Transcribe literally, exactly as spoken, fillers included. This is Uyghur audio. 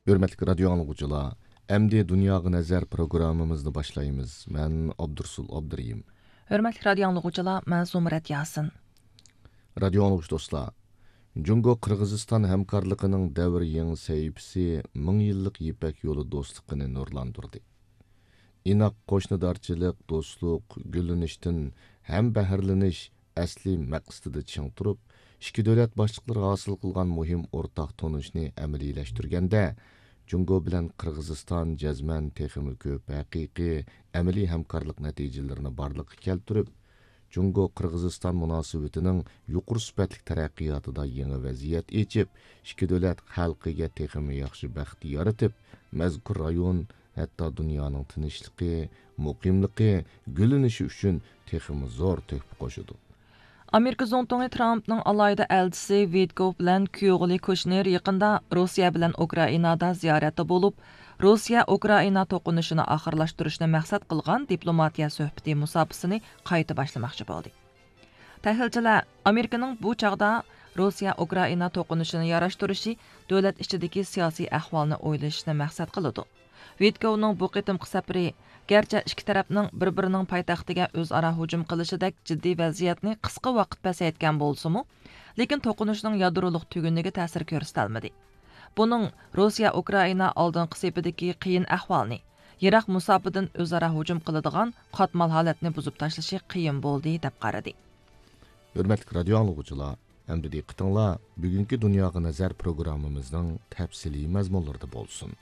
ھۆرمەتلىك رادىيو ئاڭلىغۇچىلار، ئەمدى دۇنياغا نەزەر پروگراممىمىزنى باشلايمىز. مەن ئابدۇرسۇل ئابدۇرېھىم. ھۆرمەتلىك رادىيو ئاڭلىغۇچىلار، مەن زۇمرەت ياسىن. رادىيو ئاڭلىغۇچى دوستلار، جۇڭگو قىرغىزىستان ھەمكارلىقىنىڭ دەۋر يېڭى سەھىپىسى مىڭ يىللىق يىپەك يولى دوستلۇقىنى نۇرلاندۇردى. ئىناق قوشنىدارچىلىق، دوستلۇق، گۈللىنىشتىن ھەم بەھرىلىنىش ئەسلىي مەقسىتىدە چىڭ تۇرۇپ، ئىككى دۆلەت باشلىقلىرى ھاسىل قىلغان مۇھىم ئورتاق تونۇشنى ئەمەلىيلەشتۈرگەندە، جۇڭگو بىلەن قىرغىزىستان جەزمەن تېخىمۇ كۆپ ھەقىقىي ئەمەلىي ھەمكارلىق نەتىجىلىرىنى بارلىققا كەلتۈرۈپ، جۇڭگو قىرغىزىستان مۇناسىۋىتىنىڭ يۇقىرى سۈپەتلىك تەرەققىياتىدا يېڭى ۋەزىيەت ئېچىپ، ئىككى دۆلەت خەلقىگە تېخىمۇ ياخشى بەخت يارىتىپ، مەزكۇر رايون، ھەتتا دۇنيانىڭ تىنچلىقى، مۇقىملىقى، گۈللىنىشى ئۈچۈن تېخىمۇ زور تۆھپە قوشىدۇ. ئامېرىكا زۇڭتۇڭى ترامپنىڭ ئالاھىدە ئەلچىسى ۋىتكوف بىلەن كيۇغلى كۇشنېر يېقىندا روسىيە بىلەن ئۇكرائىنادا زىيارەتتە بولۇپ، روسىيە ئۇكرائىنا توقۇنۇشىنى ئاخىرلاشتۇرۇشنى مەقسەت قىلغان دىپلوماتىيە سۆھبىتى مۇساپىسىنى قايتا باشلىماقچى بولدى. تەھلىلچىلەر ئامېرىكىنىڭ بۇ چاغدا روسىيە ئۇكرائىنا توقۇنۇشىنى ياراشتۇرۇشى دۆلەت ئىچىدىكى سىياسىي ئەھۋالنى ئويلىشىشنى مەقسەت قىلىدۇ. ۋىتكوۋنىڭ بۇ قېتىمقى سەپىرى، گەرچە ئىككى تەرەپنىڭ بىر-بىرىنىڭ پايتەختىگە ئۆزئارا ھۇجۇم قىلىشىدەك جىددىي ۋەزىيەتنى قىسقا ۋاقىت پەسەيتكەن بولسىمۇ، لېكىن توقۇنۇشنىڭ يادرولۇق تۈگۈنلۈكى تەسىر كۆرسىتەلمىدى. بۇنىڭ روسىيە ئۇكرائىنا ئالدىنقى سېپىدىكى قىيىن ئەھۋالنى، يىراق مۇساپىدىن ئۆزئارا ھۇجۇم قىلىدىغان قاتمال ھالەتنى بۇزۇپ تاشلىشى قىيىن بولدى، دەپ قارىدى. ھۆرمەتلىك رادىيو ئاڭلىغۇچىلار، ئەمدى دىققىتىڭلار بۈگۈنكى دۇنياغا نەزەر پروگراممىمىزنىڭ تەپسىلىي مەزمۇنلىرىدا بولسۇن.